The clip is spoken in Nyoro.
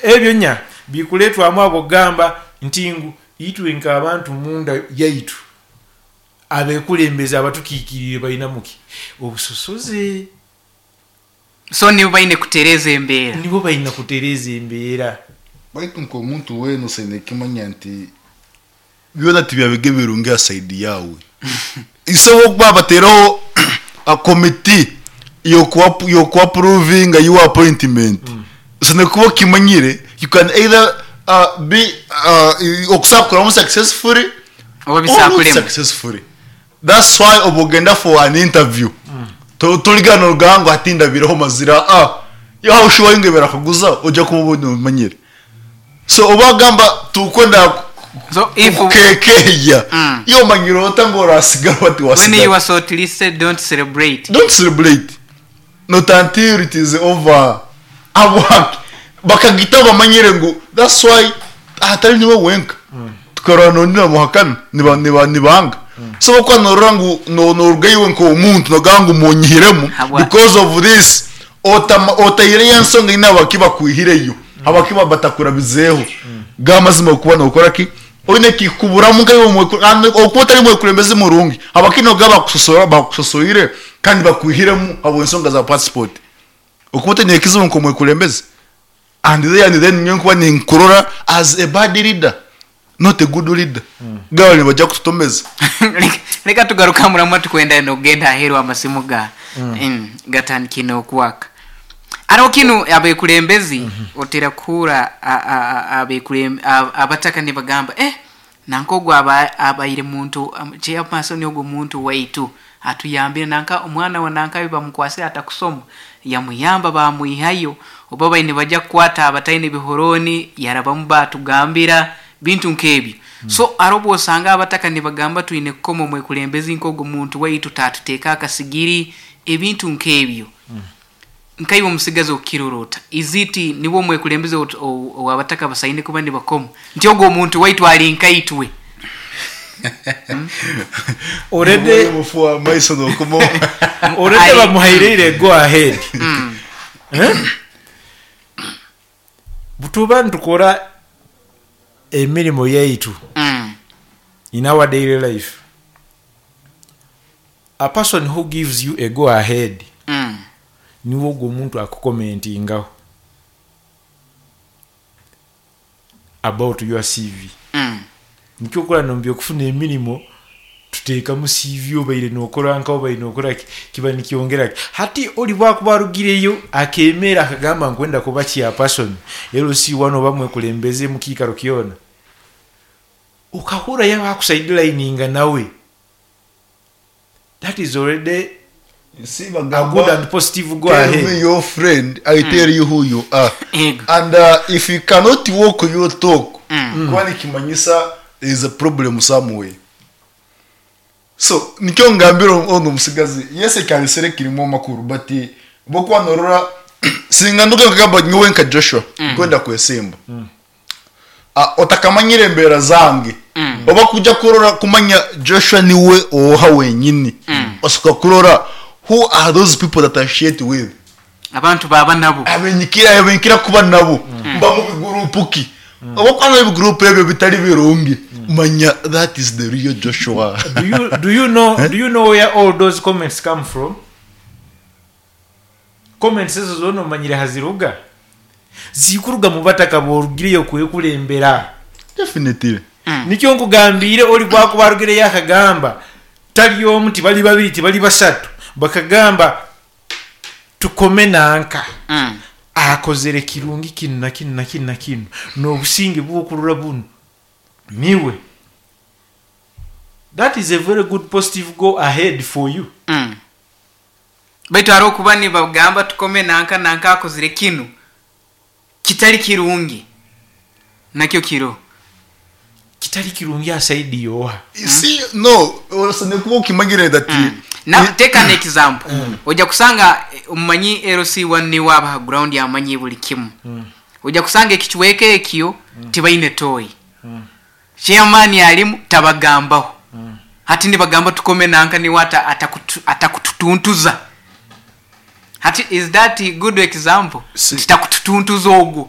Ebyo nya bikuletwamu abo gamba nti ngu itwe nk'abantu munda yaitu, abekulembeze abatukiikirire balinamuki obusosoze. So nibo baine kutereeza embeera. Nibo balina kutereeza embeera. Baitu nk'omuntu weena osaine kimanya nti byona tibyabiga ebirungi ha side yawe. Isobo okuba batereho a committee yokuapprovinga your appointment, osine kuba okimanyire you can either be okusobola kukuramu successfully oba or not bisakulemu successfully. That's why oba ogenda for an interview, toligana nogamba ngu hati ndabireho mazira. Ah, yaho sure ngu barakuguza, ojja kuba obona omanyire. So oba agamba tukwenda So if kukekeya, iyo omanyire ota ngu orasigara bati when you wasigara. are shortlisted, don't celebrate. Don't celebrate, not until it is over. Abwaki bakagita bamanyire ngu that's why atari niwe wenka tukarora nondi namuhakana nibanga. So okuba norora ngu noruga iwe nk'omuntu nogamba ngu munyihiremu because of this, otaireyo ensonga ine abaki bakwihireyo, abakiba batakurabizeeho gamazima. Okuba nokora ki oine kikuburamu nkaiwe okuba otari mwekulembezi murungi, abaki noga bakusosora bakusosoire kandi bakwihiremu habw'ensonga za passport, okuba otaine ekizibu nk'omwekulembezi. And then nyowe nkuba ninkurora as a bad leader, not a good leader. Gaba nibajja kututomeza. Leka tugaruka muramu, tukwenda nokugenda aheeru, amasimu ga gatandikire okwaka. Hariho kinu abekulembezi otera kuhura abataka nibagamba, nanka ogwo abaire muntu chairperson, ogwo muntu waitu atuyambire, nanka omwana wa nanka bamukwasire atakusoma, yamuyamba bamwihayo, oba baine bajja kukwata abataine bihoroni yarabamu batugambira bintu nk'ebyo. So hariho obu osanga abataka nibagamba twine kukoma omwekulembezi nk'ogwo muntu waitu tatuteeka akasigiri, ebintu nk'ebyo. Nkaiwe omusigazi okukirora ota? Iziti niwe omwekulembezi owabataka basaine kuba nibakoma nti ogwo omuntu waitu ali nkaitwe? Already Omufu wa maiso nokumo. Already bamuhaireire go ahead. Eh? Butuba nitukora emirimu yaitu in our daily life, a person who gives you a go ahead niwe ogwo omuntu akucommentingaho about your CV. Nikyo okora nombi okufuna emirimu tuteekamu CV, obaire nokora nka obaire nokora ki, kiba nikyongera ki. Hati oli bwakuba arugireyo akemera akagamba nkwenda kuba chairperson, LC1 oba mwekulembeze mukiikaro kyona, okahura yaba akusidelininga nawe, that is already See, a good bagamba and positive go tell me ahead. your friend, I tell you who you are. Ego. And if you cannot walk your talk, kuba nikimanyisa there is a problem somewhere. So nikyo ngambira ono omusigazi, yes, ekanisere kirimu amakuru, but bokuba norora singa nduga nkagamba nyowe nka Joshua nkwenda kwesimba. Ah, otakamanyire embeera zange, oba kujja kurora kumanya Joshua niwe oha wenyini, osoka kurora who are those people that I share with. Abantu baba nabo. Abenyikira kuba nabo, mba mu bigurupu ki? Oba kwana ebigurupu ebyo bitari birungi, manya that is the real Joshua. Do you know where all those comments come from? Comments ezo zona omanyire haziruga? Zikuruga mu bataka borugireyo kwekulembera. Definitely. Nikyo nkugambire, oli bwakuba arugireyo akagamba tali omu, tibali babiri, tibali basatu, bakagamba tukome nanka akozere kirungi kinu na kinu na kinu na kinu n'obusinge bwokurora buno niwe, that is a very good positive go ahead for you. Baitu hariho okuba nibagamba tukome nanka, nanka akozire kinu kitali kirungi, nakyo kiro. Kitali kirungi aside yoha? See, no, osane kuba okimanyire that Na take an example, ojja kusanga omumanyi LC1 niwe abaha ground, amanyi buli kimu. Ojja kusanga ekicweka ekyo tibaine toyi, chairman alimu tabagambaho. Hati nibagamba tukome nanka niwe atakututuntuza. Hati is that a good example? Titakututuntuza ogwo.